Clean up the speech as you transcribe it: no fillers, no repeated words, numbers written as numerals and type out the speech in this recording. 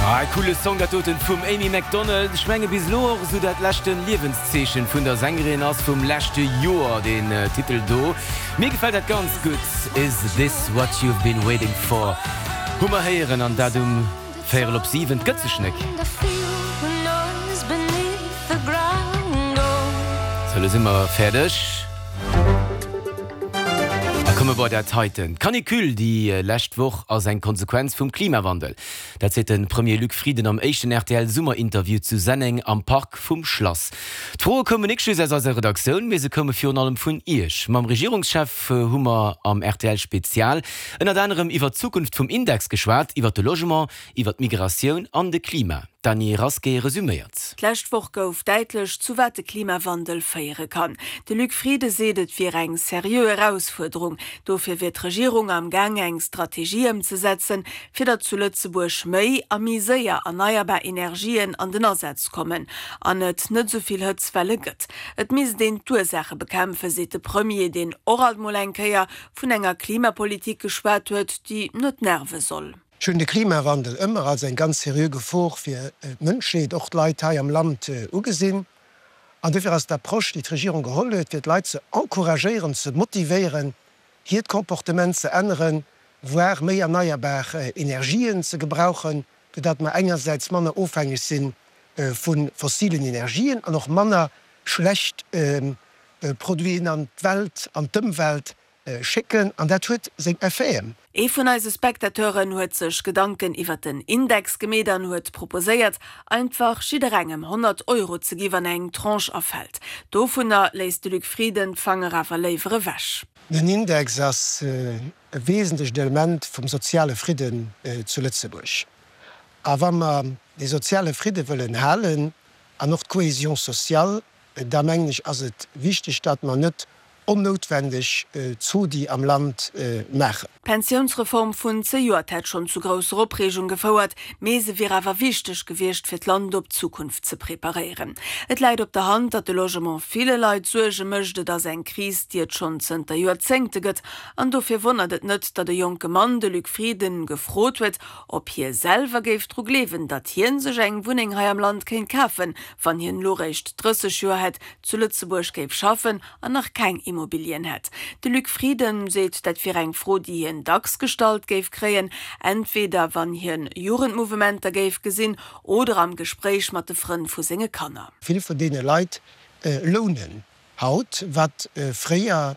Ah, e coole Song dat doten vum Amy Macdonald. Ech menge bis elo och esou dat leschten Liewenszeechen vun der Sängerin ass vum leschte Joer deen Titel do. Mir gefält dat ganz gutt. Is this what you've been waiting for hu mer héieren an dat um véierel op 7. 't gëtt sech nek. Sou, elo si mer fäerdeg a komme bei dat heiten. D'Canicule déi lescht Woch ass eng Konsequenz vum Klimawandel. Dat seet de Premier Luc Frieden am éischten RTL-Summerinterview zu Senneng am Park vum Schlass. D'Froe koumen nik just aus eiser Redaktioun, mee se koume virun allem vun Iech. Mam Regierungschef hu mer am rtl Spezial ënnert anerem iwwer d'Zukunft vum Index geschwat, iwwer de Logement, iwwer d'Migratioun an de Klima. D'Dany Rasqué resuméiert. D'lescht Woch gouf däitlech, zu wat de Klimawandel féiere kann. De Luc Frieden seet, et wier eng seriö Erausfuerderung. Dofir wier d'Regierung am Gaang eng Strategie ëmzesetzen, fir datt zu Lëtzebuerg méi a méi séier erneierbar Energien an den Asaz kommen an et net esou vill Hëtzwelle gëtt. Et misst een d'Ursaache bekämpfen, seet de Premier, deen och alt mol eng Kéier vun enger Klimapolitik geschwat huet, déi net nerve soll. Ech hunn de Klimawandel ëmmer als eng ganz seriö Gefor fir d'Mënschheet, och d'Leit hei am Land, ugesinn. An dofir ass d'Approche, déi d'Regierung geholl huet, fir d'Leit ze encouragéieren, ze motivéieren, hiert Comportement ze änneren, voire méi erneierbar Energien ze gebrauchen, fir datt mer engersäits manner ofhängeg si vu fossilen Energien an och manner schlecht Produiten an d'Welt, an d'Ëmwelt schécken. An dat huet seng Effeten. Ee vun eise Spectateuren huet sech Gedanken iwwert den Index gemeet an huet proposéiert, einfach jidderengem 100 Euro ze gi wann eng Tranche erfält. Dovunner léisst de Luc Frieden d'Fanger awer léiwer ewech. Den Index ass e wesentlecht Element vum soziale Fridden zu Lëtzebuerg. A wa mer dee soziale Fridde wëllen halen an och d'Cohésion sociale, da mengen ech, ass et wichteg, datt mer net onnoutwendeg Zodi am Land maachen. D'Pensiounsreform vun zejoert hätt schonn zu grousser Opreegung gefouert, mee se wier awer wichteg gewiescht, fir d'Land op d'Zukunft ze preparéieren. Et läit op der Hand, datt de Logement ville Leit Suerge mécht. Et ass eng Kris, déi et schonn zënter Joerzéngte gëtt. An dofir wonnert et net, datt e jonke Mann de Luc Frieden gefrot huet, ob hie selwer géif dru gleewen, datt hien sech eng Wunneng hei am Land kéint kafen, wann hien elo réischt 30 Joer hätt, zu Lëtzebuerg géif schaffen an nach keng Immobilien hätt. De Luc Frieden seet, dat wier eng Fro, déi hien dacks gestallt géif kréien, entweder wann hien Jugendmouvementer géif gesinn oder am Gespréich mat de Frënn vu senge Kanner. Vill vun deene Leit lounen haut, wat fréier.